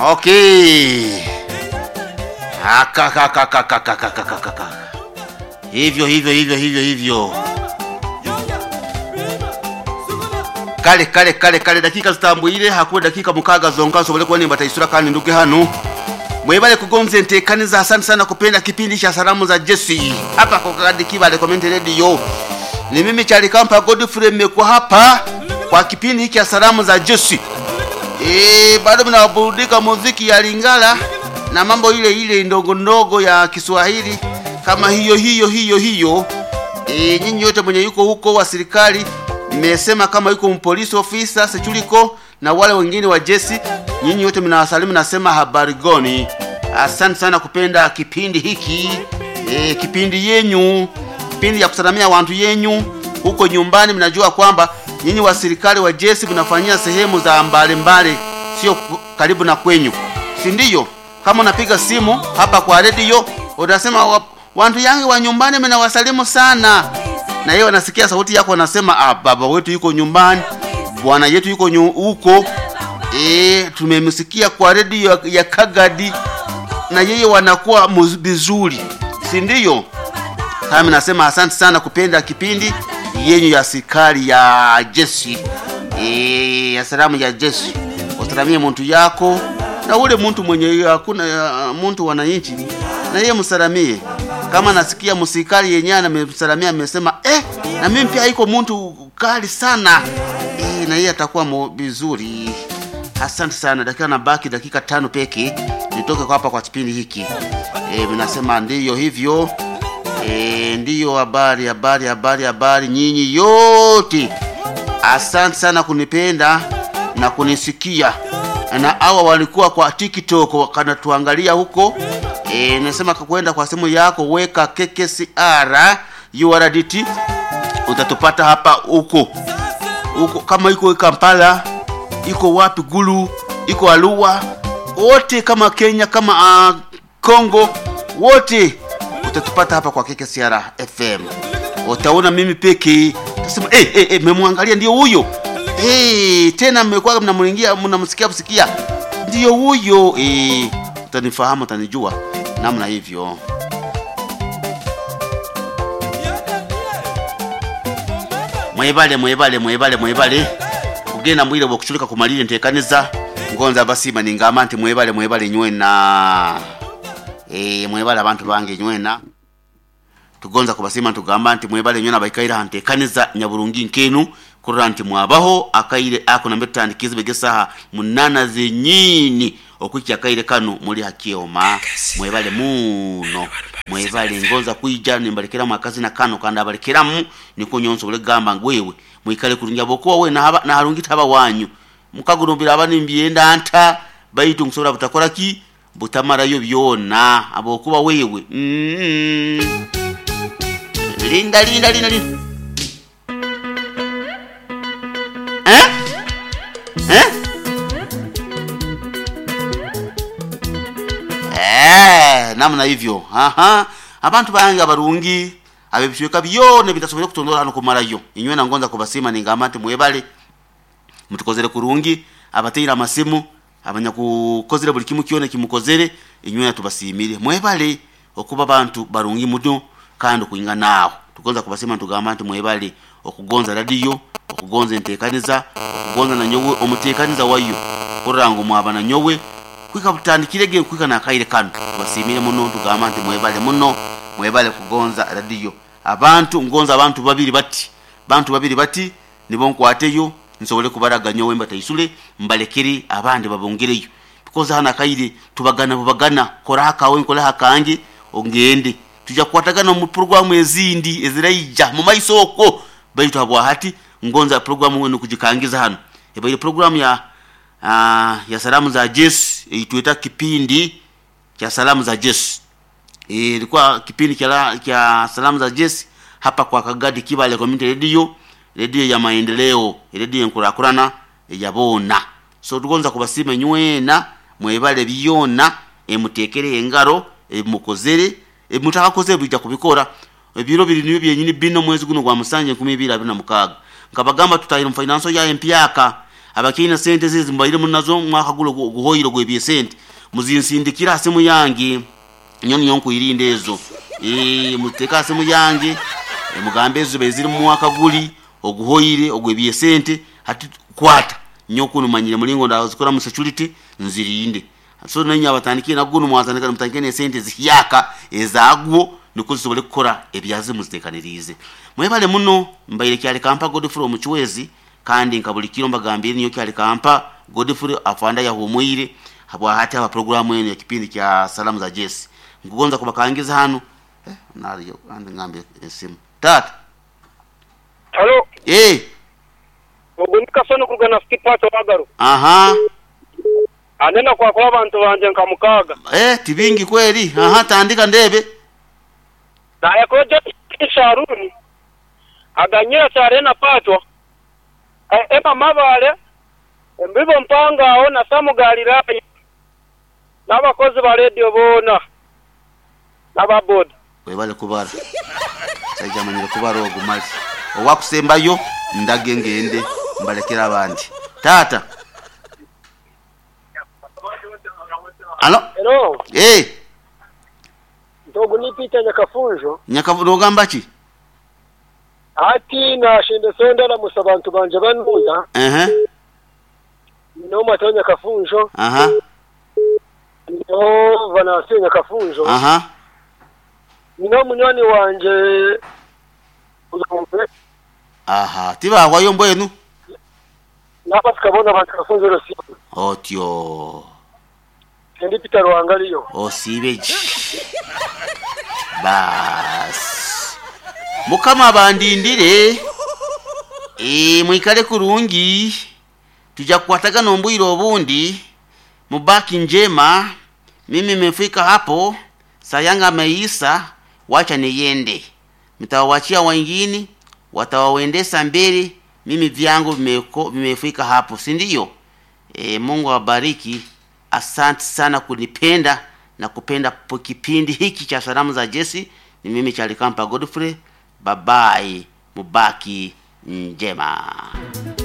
Okay. Akakakakakakakakaka. Hivyo hivyo hivyo hivyo hivyo. Kale kale kale kale dakika zitambwire hakuwe dakika mukaga zonka nsobole kuba nimba kandi nduge hano. Mwebale kugonze ntekaniza, asante sana kupenda kipindi cha salamu za Jesse hapa kwa Kagadi Kibale Community Radio. Ni mimi Chalikampa Godfrey mmekuwa hapa kwa kipindi hiki cha salamu za Jesse. Bado mnaburudika muziki ya Lingala na mambo ile ile ndogo ndogo ya Kiswahili kama hiyo hiyo hiyo hiyo. Nyinyi yote mwenye yuko huko wa serikali mmesema kama yuko mpolisi officer sechuliko na wale wengine wa jeshi, nyinyi wote mnawasalimu, nasema habari gani? Asante sana kupenda kipindi hiki kipindi yenyu, kipindi ya kusalamia watu yenyu huko nyumbani. Mnajua kwamba nyinyi wa serikali wa jeshi mnafanyia sehemu za mbalimbali, sio karibu na kwenyu, si ndio? Kama unapiga simu hapa kwa redio utasema wantu yangi wa nyumbani mnawasalimu sana, na yeye anasikia sauti yako anasema, ah, baba wetu yuko nyumbani, bwana yetu yuko huko. Tumemsikia kwa redio ya Kagadi na yeye wanakuwa vizuri, si ndio? Kama nasema asante sana kupenda kipindi yenyu ya serikali ya jeshi ya salamu ya jeshi. Usalamie muntu yako na ule muntu mwenye hakuna muntu wananchi, na yeye msalamie. Kama nasikia msikali yenyewe amemsalamia amesema na mimi pia iko muntu kali sana na yeye atakuwa vizuri. Asante sana. Dakika na baki dakika 5 peke nitoke kwa hapa kwa kipindi hiki. Mnasema ndiyo hivyo. Ndiyo habari habari habari habari nyinyi yote. Asante sana kunipenda na kunisikia. Na hawa walikuwa kwa TikTok wakanatuangalia huko. Nasema kwenda kwa simu yako weka KKCR URDT utatupata hapa huko. Huko kama iko Kampala, iko wapi Gulu, iko Arua, wote kama Kenya kama Kongo, wote utatupata hapa kwa KKCR FM. Utaona mimi peke utasema memwangalia ndio huyo. Tena mmekuwa mnamuingia mnamsikia msikia. Ndio huyo. Utanifahamu, utanijua namna hivyo. Mwebale mwebale mwebale mwebale kugenda mwire bwokuchulika kumalire ntekaniza ngonza basima ningamba nti mwebale mwebale nywena mwebale abantu bange nywena tugonza kubasima tugamba nti mwebale nywena baikaira ntekaniza nyaburungi nkenu kurora nti mwabaho akaire ako nambe tutandikize begesaha 8 zenyini okwicha akaire kano muli hakioma. Mwebale muno mwebale ngonza kuija nimbalekeramu akazi na kano kandi abalekeramu niko nyonso bule gamba ngwewe mwikale kurungi abokuwa we na harungi taba wanyu mukagurumbira abani mbyenda nta baitu nkusobora butakora ki butamarayo byona abokuba wewe Linda linda linda linda namna hivyo. Aha, abantu bange abarungi abebishweka byone bitasobora kutondora hano kumarayo inywe na ngonza kubasima ningamba nti mwebale mutukozere kurungi abateira amasimu abanyakukozere buli kimu kyone kimukozere inywe natubasimire mwebale okuba bantu barungi muno kandi kuinga nawo tugonza kubasima tugamba nti mwebale okugonza radio okugonza entekaniza okugonza na nyowe omutekaniza wayo kurango mwaba na nyowe kwika butandikirege kwika na kaire kano tubasimire muno tugamba nti mwebale muno mwebale kugonza radio abantu ngonza abantu babiri bati bantu babiri bati nibo nkwateyo nsobole kubaraga nyowe mbataisule mbalekere abandi babongereyo because hana kaire tubagana bubagana kora hakawe nkola hakange ongende tuja kukwatagana mu programu ezindi eziraija mu maisoko baitu habwa hati ngonza programu wenu kujikangiza hano ebaire programu ya ya salamu za Jesu itweta kipindi cha salamu za Jesu. Ilikuwa kipindi cha salamu za Jesu hapa kwa Kagadi Kibale Community Radio, radio ya maendeleo, radio nkurakurana yabona. So tugonza kubasima nywena mwebale byona emutekere engaro emukozere emutakakoze bijja kubikora ebiro biri niyo byenyini bino mwezi guno gwa musanje 2026 nkabagamba tutayira mu finance ya MPaka. Abakyaine sente ezi mubaire munazo omwaka guri oguhoire ogw'ebyesente muzinsindikire aha simu yange. Nyowe niyo nkwirinda ezo. Eeh muziteeke aha simu yange mugambe ezi zibaire ziri omu mwaka guri oguhoire ogw'ebyesente hati kwata nyowe kunu manyire omuringo ndazikoramu security nzirinde. So nainywe abatandikire na gunu mwatandika mutandike n'esente zihyaka ezaagwo nikwo zisobole kukora ebyazo muziteekaniriize. Mwebale muno mbaire Kyalikampa Godfrey Omuchwezi kandi nka buri kiro mbagambiire ninyowe Kyalikampa Godfrey afande ayahumwire habwahati aha puroguraamu enu ekipindi kya Salamu za Jesse. Nkugonza kubakangiza hanu eh, nariyo kandi ngambe esimu. Taata. Halo. Eh. Ogu ni Kasoni kuruga na City Park wagaruka. Aha. Ande nakwakura abantu bangye nka mukaaga. Eh, tibingi kweri. Aha, tandika ndebe. Nayakura Josephine Sharuni, Aganyira Sharena Patwa, Emma Mabale, Embibo Mpangaho na Sam Galilaya n'abakozi ba rediyo boona n'aba boda. Webale kubara. Omusaija amanyire kubara ogu mali. Owakusembayo ndage ngende mbalekere abandi. Taata. Halo. Hello. Eh. Nti ogu ni Peter Nyakafunjo. Nyakafunjo nogamba ki? Hati nashendesa ndaramusa abantu bangye banuya. Ehe. Nyine Matayo Nyakafunjo. Aha. Nyineho Vanasiyo Nyakafunjo. Aha. Nyineho munywani wangye Ruyombe. Aha, tibahwayo mbwenu? N'abasika boona ba Nyakafunjo Rusizi. Otyo. Ndi Peter Ruhanga ariyo. Osiibe gye. Baasi. Mukama abandindire. Eeh mwikare kurungi. Tuja kukwatagana omu bwire obundi. Mubaki njema. Mimi nimefika hapo. Saa yangu ameisa, wacha niende. Nitawawachia wengine watawawendesa mbele. Mimi vyangu vimefika hapo, si ndio? E, Mungu awabariki. Asante sana kunipenda na kupenda kipindi hiki cha salamu za Jesse. Ni mimi Chalikampa Godfrey. Babai, mubaki njema.